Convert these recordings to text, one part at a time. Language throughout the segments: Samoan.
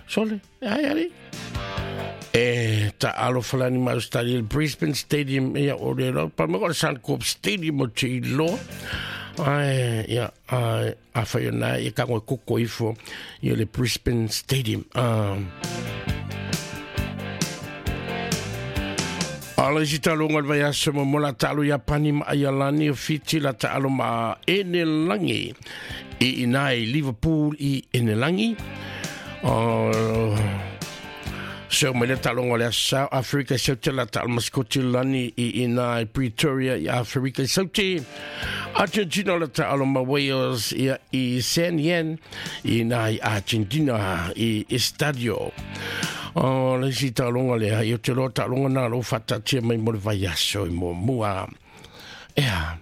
Sole, ai ali. E ta alo falani ma Australia Brisbane Stadium ia o le ro pa mo Suncorp Stadium o te iloa. Ai ia ai a whai ona ia ka ngoi koko ifo ia le Brisbane Stadium. Ala isi talonga le vaiaso mo mola talo ia pani ma Aialani o Fiti la taalo ma Enelangi i ina i Liverpool i Enelangi. O so mai le talonga le South Africa Saute la taalo ma Scotland i ina i Pretoria i Afrika Saute. Argentina la taalo ma Wales ia i San Yen i ina i Argentina i Estadio. O le isi talonga lea, i o te loa talonga nā lo whatatia mai mo le vaiaso i mua mua. Ea,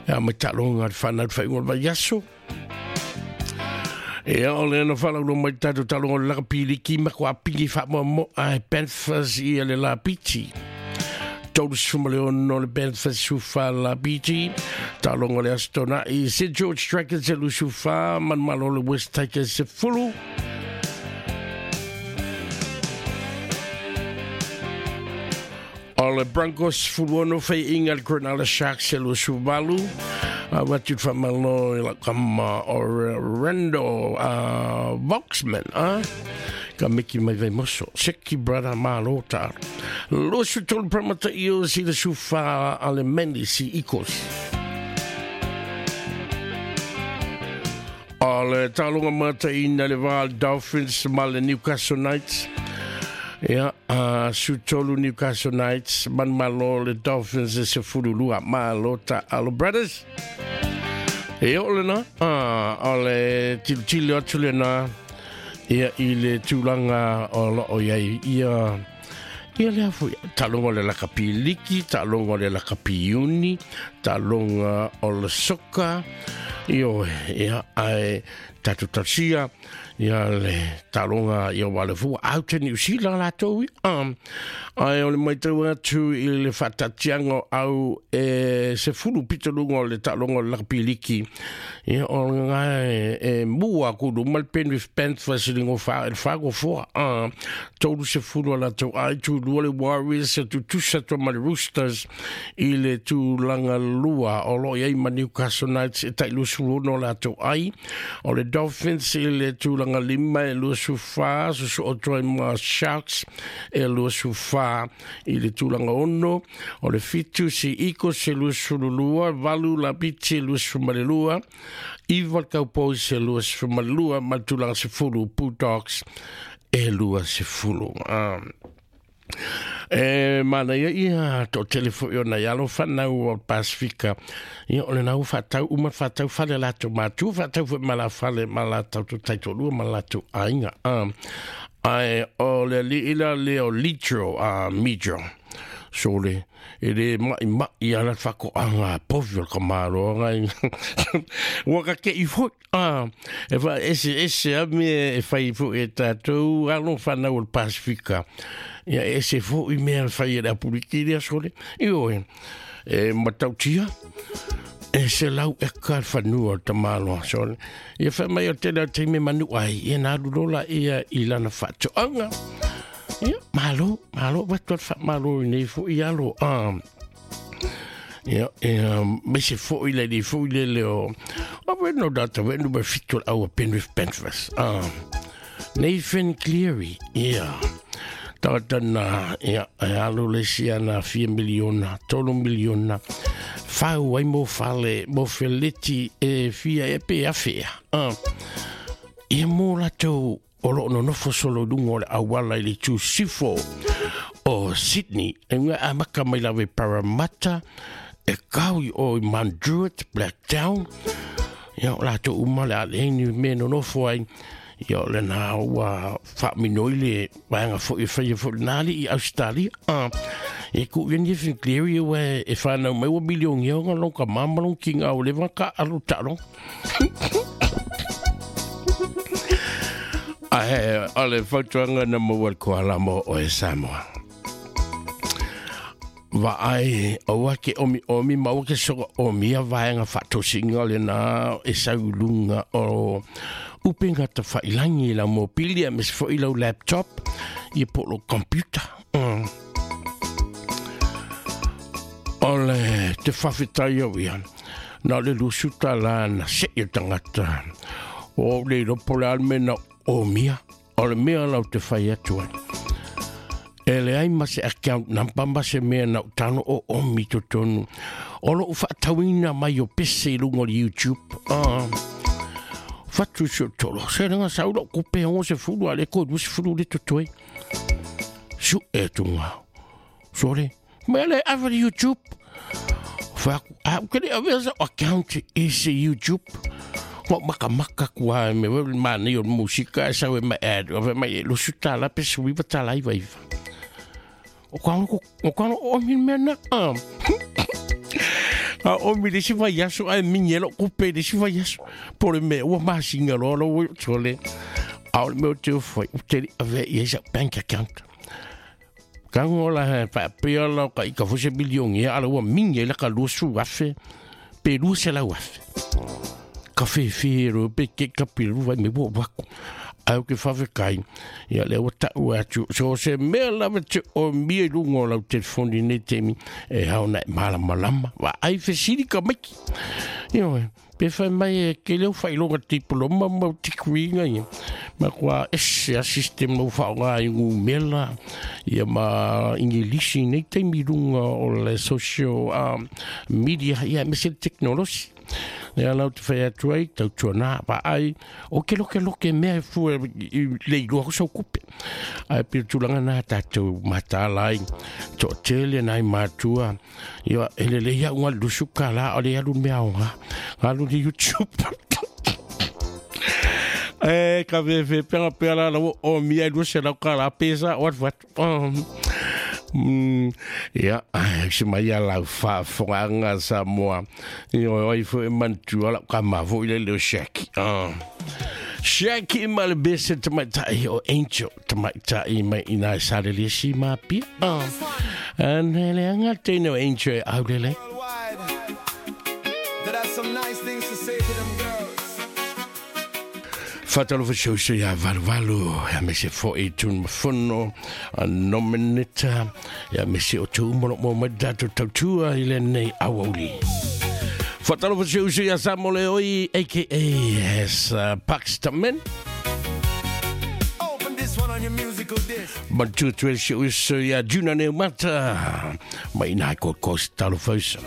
ea mai talonga le whanau whai o le vaiaso. Ea o le ana whalau mai tātou talonga o le laka piliki ma kua pingi wha mua mo ai Panthers i le la piti. 36 le Panthers sufa la piti. Talonga le Astona i St. George Dragons e lusufa, manumalo le West Tigers se fulu. O le Broncos fuluono fai inga le Cronulla Sharks e lusuvalu. Watu whamalo i la kama o Rando Voxman. Ka miki mai vai moso. Seki brother malo ta. Losu tolu pramata iyo si le sufa ale Manly si Eagles. O le talonga mata ina le Val Dolphins ma le Newcastle Knights. Ia, su tolu Newcastle Knights, man malo le Dolphins e se furulua. Malo ta alo brothers. E o le na, o le tilutili atu le na, ia i le tūlanga o lo o iai, ia, ia le afu, talonga o le lakapi liki, talonga o le lakapi uni, talonga o le soka, io, ia, ai, tatu tasia, ia le talonga ia wale fua, au te New Zealand la tau, ai o le mai tau atu i le whatatianga au e se fulu pitalunga o le talonga o le lakapi liki, ia o ngai e mua kulu mal Penrith Panthers i lingo wha, e whango fua, tolu se fulu ala tau ai tu lua le Warriors e tu tusa tua ma le Roosters i le tūlanga lua o lo iai ma Newcastle Knights e tai lusu ono la tau ai o le Dolphins i le tūlanga lima e lusu wha susu o toi ma Sharks e lusu wha i le tūlanga ono o le Fitu si Eagles e lusu lua valu la biti e lusu malelua Iva Cowboys e lusu malelua ma tūlanga se fulu Bulldogs e lua se fulu. E mana ia ia to telefo i ona ialo whanau o Pasifika. Ia o le nau whatau, uma whatau whale lato mātu, whatau fwe mala whale mala tau to taito lua mala tau ainga. Ai o le li ila le o litro a midro. So le, e le mai mai ala whako anga povi o ka maro anga. Waka ke i fo, e wha ese ese a me e whai fo e tātou alo whanau o le Pasifika. Ia ese fo i mea whai e le apuriki rea sole. Io e, e matautia. E se lau e ka whanua o tamaloa sole. Ia wha mai o tēnā te me manu ai. Ia nā rurola ia i lana whatoanga. Ia, malo, malo, watu at malo i nei fo i alo. Ia, me se fo i le li fo i le leo. O weno data, weno me fitu au a Penrith Panthers. Nathan Cleary, ia. Tata na, ia, e alo le sia na 4 miliona, 3 miliona. Whau ai mo whale, mo feleti e fia e pe a fea. Ia mo latou o lo no nofo solo lunga o le awala i le tū sifo o Sydney. E ngā amaka mai lawe Parramatta, e kau i o i Mount Druitt, Blacktown. Ia o latou uma le ale ni me no nofo ai. Ia o le nā ua whaminoi le waenga fo i whaia fo nāli i Australia. E ku ia ni Nathan Cleary ua e whanau mai ua milioni o ngā longa mamalong ki ngā o lewa ka alo talo. Ae, o le fautuanga na maua le koala mo o e Samoa. Va ai, o ake omi omi, ma o ke soka omi a vaenga whatosinga le nā e saulunga o Upega tafailagi i lau mopili aemaise foi lau laptop ia po o lou computer. O le te faafetai au ia, na o le $20 na se'i o tagata. O ou le iloa po o le a le mea na omia, o le mea lau te fai atu ai. E leai ma se account number ma se mea na ou tago o omi i totonu. O lou faatauina mai o pese i luga o le YouTube. Fatu si o tolo. Se lenga sau lau kupe ongo se fulu a le ko se fulu le totoe. Su e tunga. Sore. Me le ave le YouTube. Fa a ke le ave sa account i se YouTube. Wa maka maka kua me we ma nei o musika e sau e ma ad. Ave mai e lusu tala pe sui va tala i vai. O ka o ka o mi mena. A o mi le si vai aso ai mingi lo kupe le si vai aso. Po le me ua masinga lo lo we tole. A o le mea o te ofai, o te ave i sa bank account. Ka ngola he pa pia la ka i ka fose milioni ala ua mingi la ka 20,000 pe 200,000. Ka fe ro pe ke ka piru vai me wo wako. Au ke whawhekai, ia le ua tau atu. So se mea lava te o mia i lunga o lau telefoni nei temi, e hau na e malamalama. Wa ai fesili ka maiki. Ioe, pe whai mai e ke leo whailonga diploma mau tikuinga ia. Ma kua ese a system mau whaonga i ngu mela, ia ma ingilisi nei taimi lunga o le social media, ia me se teknolosi. Lea lau te whai atu ai, tautua nā, pa ai, o ke loke loke mea e fua i le ilua ko sau kupe. Ai pir tūlanga nā tātou matālai, to tele nai mātua, ia e le lea unga lusu ka la, o le alu mea o ngā, ngā lu ni YouTube. E, ka ve ve penga pea la lau o mia i lua se lau ka la pesa, o atu atu. Ia, se mai a lau faafogaga Samoa. Ioe, o ai foi e manatua lau ka mafo i le leo Shaki. Shaki ma le bese tamaitai o Angel tamaitai mai ina e sa le lesi ma pia. Ane le anga teine o Angel e au lele. That has some nice things to say to them girls. Whatalofa siauso ia valu valu, ia me se fo i tun mafono, a nomeneta, ia me se o te umolo mo mai tatou tautua i le nei awauli. Whatalofa siauso ia Samole oi, a.k.a. as Paxtamen. Open this one on your musical disc. Mantua tuele siauso ia Juna Neumata, mai nai Gold Coast talofausa.